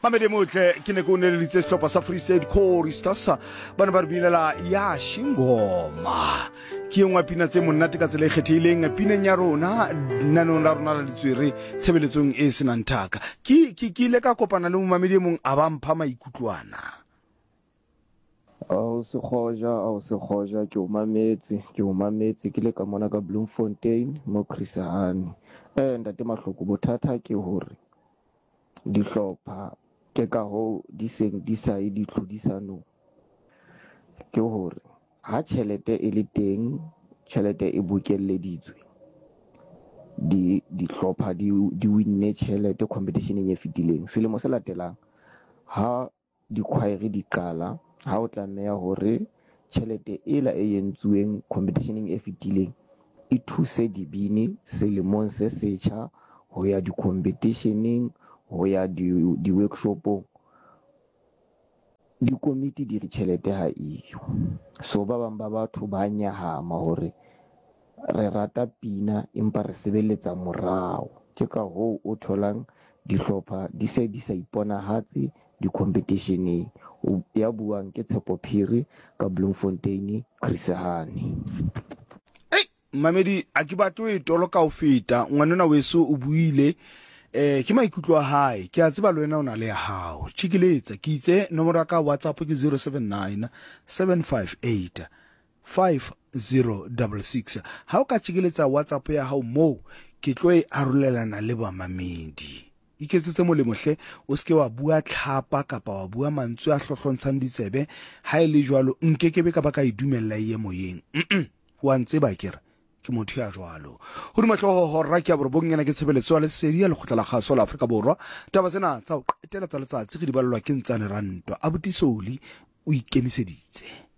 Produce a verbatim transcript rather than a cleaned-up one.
Mamedi motle, ke ne ke o neleditse sehlopha sa Free State Choristers, ba ne ba re binela ya shingoma. Ke e nngwe ya pina tse monate ka tsela e kgethehileng pineng ya rona naneong la rona la ditswere tshebeletsong e senang thaka. Ke ke ke ile ka kopana le momamedi e mong a ba mpha maikutlwana. Ao Sekgoja, ao Sekgoja, ke o mametse, ke o mametse ke le ka mona ka Bloemfontein mo Chris Hani. Eh ntate Mahloko, bothata ke hore dihlopha ke ka hoo di seng di sa ye ditlhodisanong. Ke hore ha tjhelete e le teng, tjhelete e bokelleditswe, di dihlopha di di winne tjhelete competition-eng e fetileng. Selemo se latelang ha di-choir di qala, ha o tlameha hore tjhelete ela e entsuweng competition-eng e fetileng e thuse dibini selemong se setjha ho ya di-competition-eng, ho ya di di-workshop-ong. Dikomiti di re tjhelete ha eyo. So ba bang ba batho ba nyahama hore re rata pina empa re sebeletsa morao. Ke ka hoo o tholang dihlopha di se di sa iponahatse di-competition-eng. Ya buang ke Tshepo Phiri ka Bloemfontein, Chris Hani. Ei, mamedi, a ke batle ho e toloka ho feta. Ngwanenwa weso o buile, eh ke maikutlo a hae. Ke a tseba le wena o na le ya hao. Tjhikiletsa, ke itse nomoro ya ka WhatsApp ke zero seven nine seven five eight five zero double six. Ha o ka tjhikiletsa WhatsApp ya hao moo, ke tlo e arolelana le bamamedi. Iketsetse molemo hle, o seke wa bua tlhapa kapa wa bua mantswe a hlohlontshang ditsebe. Ha e le jwalo, nkekebe ka ba ka e dumella e ye moyeng. Mm-mm. Wa ntseba akere? Ke motho ya jwalo. Hodima hlooho hora ke ya borobong, ena ke tshebeletso ya lesedi ya lekgotla la kgaso la Afrika Borwa. Taba tsena tsa ho qetela tsa letsatsi re di balelwa ke Ntsane Rantwa. Abuti Soli o ikemiseditse.